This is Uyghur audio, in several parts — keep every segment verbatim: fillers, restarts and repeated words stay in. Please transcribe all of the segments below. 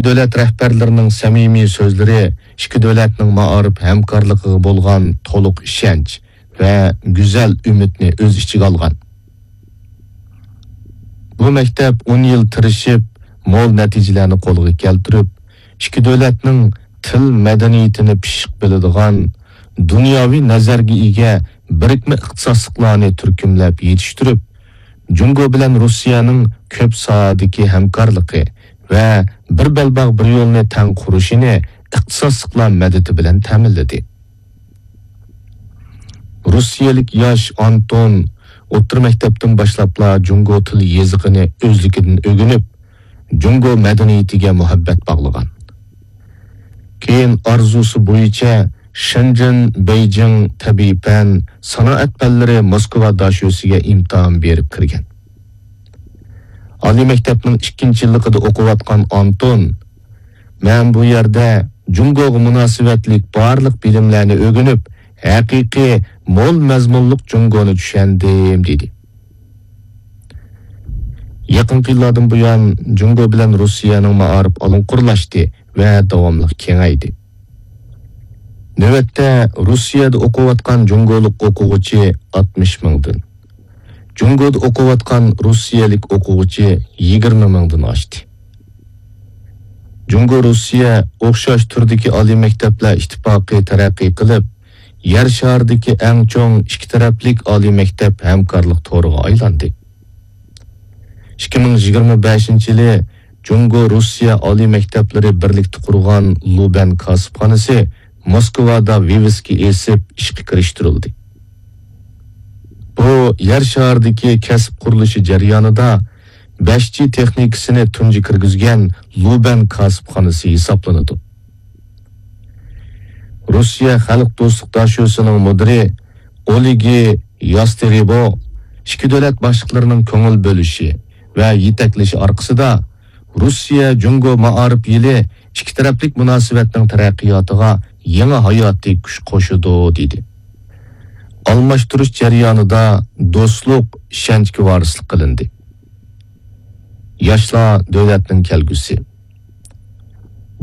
دۆلەت رەھبەرلىرىنىڭ سەمىمىي سۆزلىرى ئىككى دۆلەتنىڭ مائارىپ ھەمكارلىقىغا بولغان تولۇق ئىشەنچ ۋە گۈزەل ئۈمىدنى ئۆز ئىچىگە ئالغان. بۇ مەكتەپ ئون يىل تىرىشىپ، مول نەتىجىلەرنى قولغا كەلتۈرۈپ، ئىككى دۆلەتنىڭ تىل مەدەنىيىتىنى پىششىق بىلىدىغان، دۇنياۋى نەزەرگە ئىگە بىرىكمە ئىختىساسلىقلارنى تۈركۈملەپ يېتىشتۈرۈپ، جۇڭگو بىلەن رۇسىيەنىڭ كۆپ ساھەدىكى ھەمكارلىقى ۋە بىر بەلباغ بىر يولنى تەڭ قۇرۇشىنى ئىختىساسلىقلار مەدىتى بىلەن تەمىنلىدى. رۇسىيەلىك ياش ئانتون ئوتتۇرا مەكتەپتىن باشلاپلا جۇڭگو تىل يېزىقىنى ئۆزلۈكىدىن ئۆگىنىپ، جۇڭگو مەدەنىيىتىگە مۇھەببەت باغلىغان. كېيىن ئارزۇسى بويىچە شېنجېن، بېيجىڭ تەبىئىي پەن، سانائەت پەنلىرى موسكۋا داشۆسىگە ئىمتىھان بېرىپ كىرگەن. ئالىي مەكتەپنىڭ ئىككىنچى يىللىقىدا ئوقۇۋاتقان ئانتون، مەن بۇ يەردە جۇڭگوغا مۇناسىۋەتلىك بارلىق بىلىملەرنى ئۆگىنىپ، ھەقىقىي مول مەزمۇنلۇق جۇڭگونى چۈشەندىم، دېدى. يېقىنقى يىللاردىن بۇيان جۇڭگو بىلەن رۇسىيەنىڭ مائارىپ ئالۇڭقۇرلاشتى ۋە داۋاملىق كېڭەيدى. نۆۋەتتە رۇسىيەدە ئوقۇۋاتقان جۇڭگولۇق ئوقۇغۇچى ئاتمىش مىڭدىن، جۇڭگودا ئوقۇۋاتقان رۇسىيەلىك ئوقۇغۇچى يىگىرمە مىڭدىن ئاشتى. جۇڭگو رۇسىيە ئوخشاش تۈردىكى ئالىي مەكتەپلەر ئىتتىپاقى تەرەققىي قىلىپ، يەر شارىدىكى ئەڭ چوڭ ئىككى تەرەپلىك ئالىي مەكتەپ ھەمكارلىق تورىغا ئايلاندى. ئىككى مىڭ يىگىرمە بەشىنچى يىلى جۇڭگو رۇسىيە ئالىي مەكتەپلىرى بىرلىكتە قۇرغان لۇبەن كاسىپخانىسى موسكۋادا ۋىۋىسكا ئېسىپ ئىشقا كىرىشتۈرۈلدى. بۇ يەر شارىدىكى كەسىپ قۇرۇلۇشى جەريانىدا بەش جى تېخنىكىسىنى تۇنجى كىرگۈزگەن لۇبەن كاسىپخانىسى ھېسابلىنىدۇ. رۇسىيە خەلق دوستلۇق داشۆسىنىڭ مۇدىرى ئولېگى ياستېرېبو ئىككى دۆلەت باشلىقلىرىنىڭ كۆڭۈل بۆلۈشى ۋە يېتەكلىشى ئارقىسىدا، رۇسىيە جۇڭگو مائارىپ يىلى ئىككى تەرەپلىك مۇناسىۋەتنىڭ تەرەققىياتىغا يېڭى ھاياتىي كۈچ قوشىدۇ، دېدى. ئالماشتۇرۇش جەريانىدا دوستلۇق، ئىشەنچكە ۋارىسلىق قىلىندى. ياشلار دۆلەتنىڭ كەلگۈسى.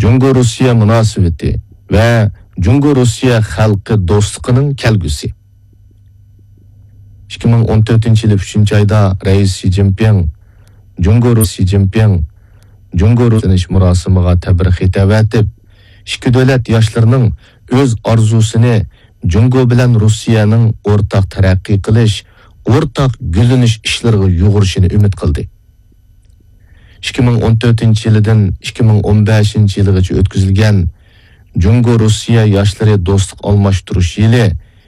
جۇڭگو رۇسىيە مۇناسىۋىتى ۋە جۇڭگو رۇسىيە خەلقى دوستلۇقىنىڭ كەلگۈسى. ئىككى مىڭ ئون تۆتىنچى يىلى ئۈچىنچى ئايدا رەئىس شى جىنپىڭ جۇڭگو رۇس-، شى جىنپىڭ جۇڭگو رۇسىيە مۇراسىمىغا تەبرىك خېتى ئەۋەتىپ، ئىككى دۆلەت ياشلىرىنىڭ ئۆز ئارزۇسىنى جۇڭگو بىلەن رۇسىيەنىڭ ئورتاق تەرەققىي قىلىش، ئورتاق گۈللىنىش ئىشلىرىغا يۇغۇرۇشىنى ئۈمىد قىلدى. ئىككى مىڭ ئون تۆتىنچى يىلىدىن ئىككى مىڭ ئون بەشىنچى يىلىغىچە ئۆتكۈزۈلگەن جۇڭگو رۇسىيە ياشلىرى دوستلۇق ئالماشتۇرۇش يىلى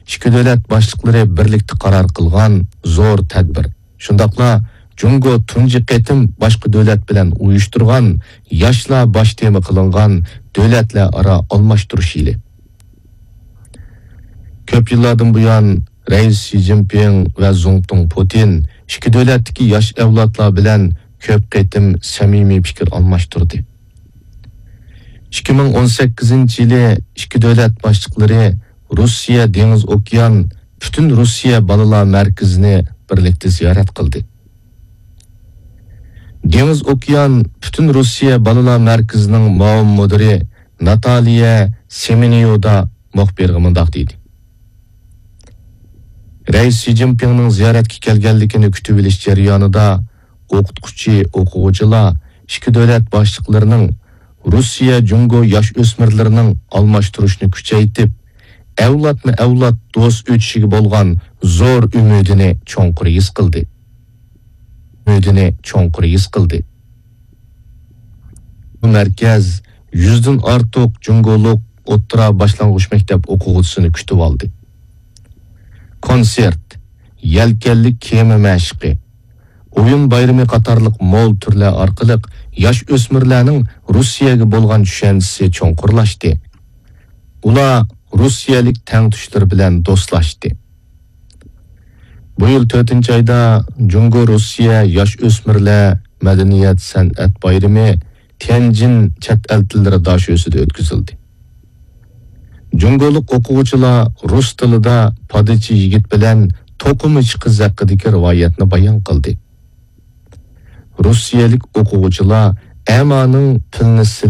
ئىككى دۆلەت باشلىقلىرى بىرلىكتە قارار قىلغان زور تەدبىر. شۇنداقلا جۇڭگو تۇنجى قېتىم باشقا دۆلەت بىلەن ئۇيۇشتۇرغان ياشلار باش تېما قىلىنغان دۆلەتلەر ئارا ئالماشتۇرۇش يىلى. كۆپ يىللاردىن بۇيان رەئىس شى جىنپىڭ ۋە زۇڭتۇڭ پۇتىن ئىككى دۆلەتتىكى ياش ئەۋلادلار بىلەن كۆپ قېتىم سەمىمىي پىكىر ئالماشتۇردى. ئىككى مىڭ ئون سەككىزىنچى يىلى ئىككى دۆلەت باشلىقلىرى رۇسىيە دېڭىز ئوكيان پۈتۈن رۇسىيە بالىلار مەركىزىنى بىرلىكتە زىيارەت قىلدى. دېڭىز ئوكيان پۈتۈن رۇسىيە بالىلار مەركىزىنىڭ مۇئاۋىن مۇدىرى ناتالىيە سېمېنيودا مۇخبىرغا مۇنداق دېدى: رەئىس شى جىنپىڭنىڭ زىيارەتكە كەلگەنلىكىنى كۈتۈۋېلىش جەريانىدا ئوقۇتقۇچى، ئوقۇغۇچىلار ئىككى دۆلەت باشلىقلىرىنىڭ رۇسىيە جۇڭگو ياش ئۆسمۈرلىرىنىڭ ئالماشتۇرۇشنى كۈچەيتىپ، ئەۋلادمۇ ئەۋلاد دوست ئۆتۈشىگە بولغان زور ئۈمىدىنى چوڭقۇر ھېس قىلدى. ئۈمىدىنى چوڭقۇر ھېس قىلدى. بۇ مەركەز يۈزدىن ئارتۇق جۇڭگولۇق ئوتتۇرا باشلانغۇچ مەكتەپ ئوقۇغۇچىسىنى كۈتۈۋالدى. كونسېرت، يەلكەنلىك كېمە مەشىقى، ئويۇن بايرىمى قاتارلىق مول تۈرلەر ئارقىلىق ياش ئۆسمۈرلەرنىڭ رۇسىيەگە بولغان چۈشەنچىسى چوڭقۇرلاشتى. ئۇلار رۇسىيەلىك تەڭتۇشلىرى بىلەن دوستلاشتى. بۇ يىل تۆتىنچى ئايدا جۇڭگو رۇسىيە ياش ئۆسمۈرلەر مەدەنىيەت سەنئەت بايرىمى تيەنجىن چەت ئەل تىللىرى داشۆسىدە ئۆتكۈزۈلدى. جۇڭگولۇق ئوقۇغۇچىلار رۇس تىلىدا پادىچى يىگىت بىلەن توقۇمىچى قىز ھەققىدىكى رىۋايەتنى بايان قىلدى. رۇسىيەلىك ئوقۇغۇچىلار ئەمانىڭ پىلنى سېلىش